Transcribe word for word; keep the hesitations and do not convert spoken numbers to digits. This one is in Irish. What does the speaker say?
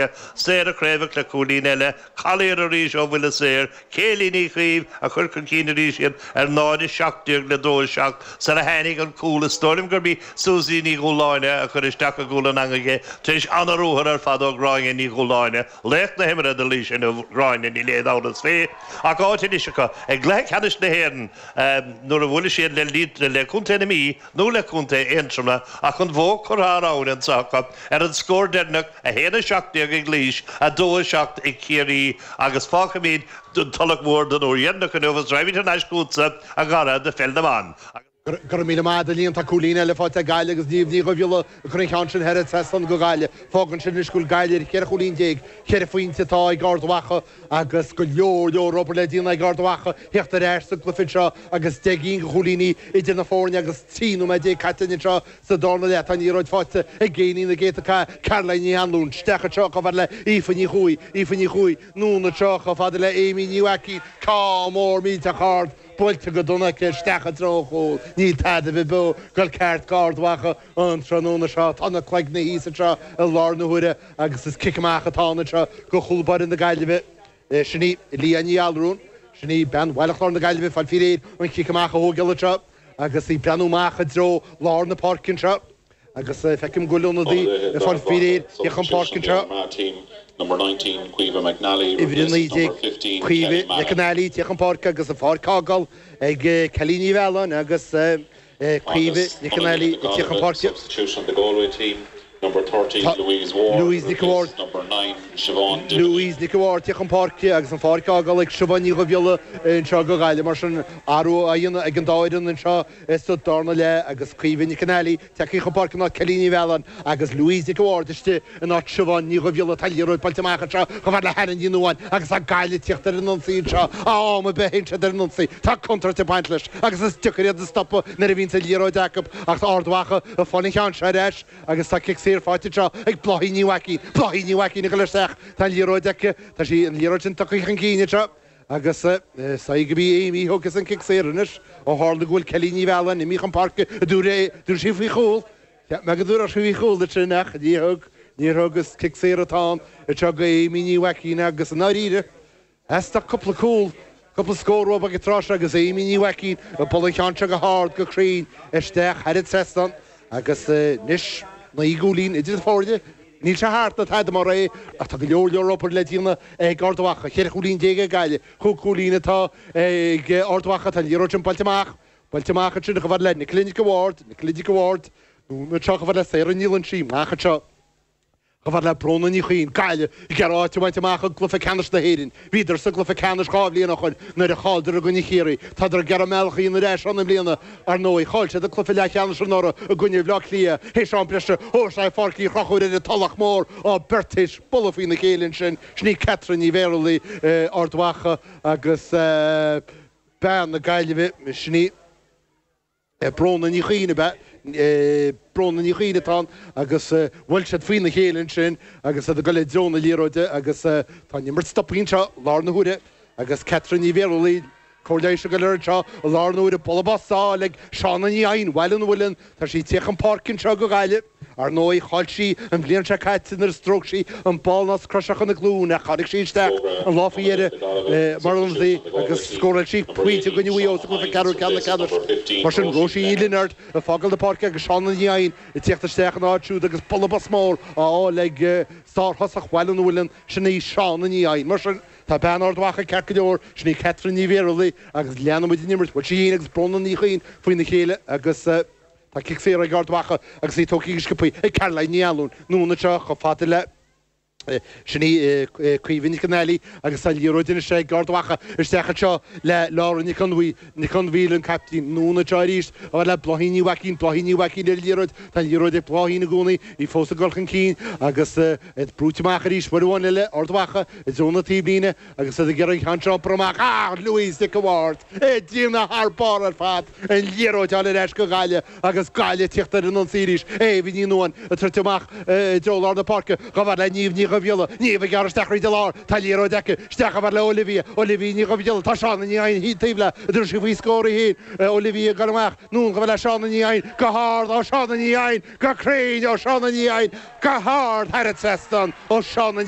páirce, Sarah Craobh le cúilín eile, Collier arís ó bhuille saor, Céilí Ní Chaoimh a chur chun cinn arís iad ar náid seacht déag le dó seacht sar a tháinig an cúl is dóigh liom gurb í Suzy Ní Dhúláine a chuir isteach i gcúl an eangaigh é tar éis an-ruathar ar fad ó Ghráinne Ní Dhúláine, laoch na himeartha do Laois inniu Gráinne níl aon amhras faoi ach áit anois acu ag cluiche ceannais na hÉireann nuair a bhuailfidh siad le le Contae na Mí nó le Contae Aontroma ach an bhó curtha thar abhainn anseo acu ar an scór deireanach a haon a seacht déag ag Laois a dó a seacht ag Ciarraí agus fágfaimid an Tulach Mhór don uair dheireanach inniu agus raghaimid thar n-ais chugatsa a Dhara do pheil na mban. Go raibh míle maith agat a Liam tá cúilín eile faighte ag Gaillimh agus Niamh Ní Dhubhghiolla ag cur an cheann sin thar an trasnán do Ghaillimh. Fágann sin anois go bhfuil Gaillimh ar cheithre chúilín déag, ceithre phointe atá ag Ard Mhacha agus go leor leor obair le déanamh ag Ard Mhacha theacht ar ais sa gcluiche seo agus deich gcinn de chúilíní idir na foirne agus trí nóiméad déag caite anseo sa darna leath. Tá an liathróid faighte ag éinní na gcéadta cath Caroline Ní Anluain isteach anseo chomh fada le Aoife Ní Chuaig, Aoife Ní Chuaig, anonn anseo chomh fada le Amy Ní Mhaicín, ceann mór millteach ard. Buailte go dona aici isteach i dtreo an chúil. Níl tada ar bith beo ag goil ceart d'Ard Mhacha an tráthnóna seo. Tá na cloigne thíos anseo i láthair na huaire agus is cic amach atá ann anseo do chúl báire na Gaillimhe. Sin í Leah Ní Allrúin. Sin í bean Bhaile Chláir na Gaillimhe ag fáil faoi réir an chic amach a thógáil anseo agus í ag breathnú amach i dtreo lár na páirce anseo. Agus feicim go bhfuil ionadaí ag fáil faoi réir theacht chun páirce anseo. Uimhir a naoi déag, Caoimhe McAnally ag teacht chun páirce agus an pháirc á fhágáil ag Kelly Ní Mhealláin agus Caoimhe McAnally ag teacht chun páirce. Tá Louise Nic an Bhaird, Louise Nic an Bhaird ag teacht chun páirce agus an pháirc á fhágáil ag Siobhán Ní Dhubhghiolla anseo do Ghaillimh. Mar sin, athrú á dhéanamh ag an dá fhoireann anseo sa darna leath agus Caoimhe McAnally tagtha chun páirce in áit Kelly Ní Mhealláin agus Louise Nic an Bhaird istigh in áit Siobhán Ní Dhubhghiolla. Tá an liathróid buailte amach anseo chomh fada le Hannah Ní Nuadháin agus tá Gaillimh ag tíocht ar an ionsaí anseo. Am ar bith a théann siad ar an ionsaí, tá contúirt ag baint leis agus is deacair iad a stopadh nuair a bhíonns an liathróid acu ach Ard Mhacha ag fáil an cheann seo ar ais agus tá cic saor faighte anseo ag Bláithín Ní Mhaicín. Bláithín Ní Mhaicín ag dul isteach. Tá an liathróid aici. Tá sí, an liathróid sin tugtha chun cinn anseo. Agus is dóigh gurb í Amy a thógfas an cic saor anois, ó tharla go bhfuil Kelly Ní Mhealláin imithe chun páirce, an dtabharfaidh sí faoi chúl. Cheap mé go dtabharfadh sí faoi chúl ansin ach níor thug, níor thug. Is cic saor atá ann anseo do Amy Ní Mhaicín agus i ndáiríre, theastaigh cúpla cúl, cúpla scór uathu ag an tráth seo agus Amy Ní Mhaicín ag bualadh an cheann seo go hard, go cruinn isteach thar an trasnán agus anois naoi gcúilín idir na foirne. Níl sé thart ná tada mar é ach tá go leor leor obair le déanamh ag Ard Mhacha. Ceithre chúilín déag ag Gaillimh, cúig chúilín atá ag Ard Mhacha. Tá an liathróid sin buailte amach, buailte amach ansin chomh fada le Nicola Nic an Bhaird, Nicola Nic an Bhaird, anonn anseo chomh fada le Sarah Ní Loinsigh, amach anseo. Chomh fada le Bróna Ní Chuinn, Gaillimh, ag iarraidh áit a bhaint amach i gcluiche ceannais na hÉireann. Bhíodar sa gcluiche ceannais dhá bhliain ó shoin nuair a chailleadar i gcoinne Chiarraí. Tádar ag iarraidh a mbealach a dhéanamh ar ais ann i mbliana. Ar ndóigh, chaill siad an cluiche leathcheannais anuraidh i gcoinne Bhaile Átha Cliath théis am breise. Ó, is é Pháirc Uí Chonchúir ar an Tulach Mhór á beirt théis bualadh faoina chéile ansin. Sin í Catherine Ní Bhéarlaí, Ard Mhacha, agus bean na Gaillimhe, sin í. Bróna Ní Chuinn ab ea? Bróna Ní Chuinn atá ann agus bhuail siad faoina chéile ansin agus iad ag dul i dtreo na liathróide agus tá an imirt stoptha anseo i láthair na huaire agus Catherine Ní Bhéarlaí, cóir leighis ag dul air anseo i láthair na huaire, bualadh bos á fháil ag Shauna Ní Eidhin, Bhaile an Mhuilinn, tá sí ag tíocht chun páirce anseo do Ghaillimh. Ar ndóigh, chaill sí an bhliain seo caite nuair a stróic sí an ball os cionn a glúine ach tháinig sí isteach an lá faoi dheireadh mar ionadaí agus scóráil sí pointe i gcoinne Mhaigh Eo sa gcluiche ceathrú ceannais. Mar sin, Róisín Ní Lionáird ag fágáil na páirce agus Shauna Ní Eidhin ag tíocht isteach ina áit siúd agus bualadh bos mór á fháil ag sárthosach Bhaile an Mhuilinn, sin í Shauna Ní Eidhin. Mar sin, tá bean Ard Mhacha ceart go leor, sin í Catherine Ní Bhéarlaí agus leanfaidh muid an imirt. Bhuail sí féin agus Bróna Ní Chuinn faoina chéile agus. Tá cic saor ag Ard Mhacha agus í tógtha go sciobtha ag Caroline Ní Anluain. Anonn anseo chomh fada le Sin í Caoimhe Nic an Ailí agus tá an liathróid anois ag Ard Mhacha isteach anseo le Laura Nic Fhionnmhaoil, Nic Fhionnmhaoil an caiptín. Anonn anseo arís chomh fada le Bláithín Ní Mhaicín, Bláithín Ní Mhaicín ar an liathróid. Tá an liathróid ag Bláithín i gcónaí, í fós ag dul chun cinn agus iad brúite amach arís uair amháin eile Ard Mhacha i dtreo na taobhlíne agus iad ag iarraidh an ceann seo a iompar amach. Ah! Louise Nic an Bhaird! Ag déanamh thar barr ar fad, an liathróid a fháil ar ais go Gaillimh agus Gaillimh ag tíocht ar an ionsaí arís. Éabha Ní Nuadháin ag troid amach i dtreo lár na páirce chomh fada le Niamh Ní Dhubhghiolla. Niamh ag gearradh isteach thríd an lár. Tá an liathróid aici. Isteach chomh fada le Olivia. Olivia Ní Dhubhghiolla. Tá Shauna Ní Eidhin taobh léi. An dtabharfaidh sí faoi scór í féin. Olivia ag dul amach. Anonn chomh fada le Shauna Ní Eidhin. Go hard ó Shauna Ní Eidhin. Go cruinn ó Shauna Ní Eidhin. Go hard thar an trasnán ó Shauna.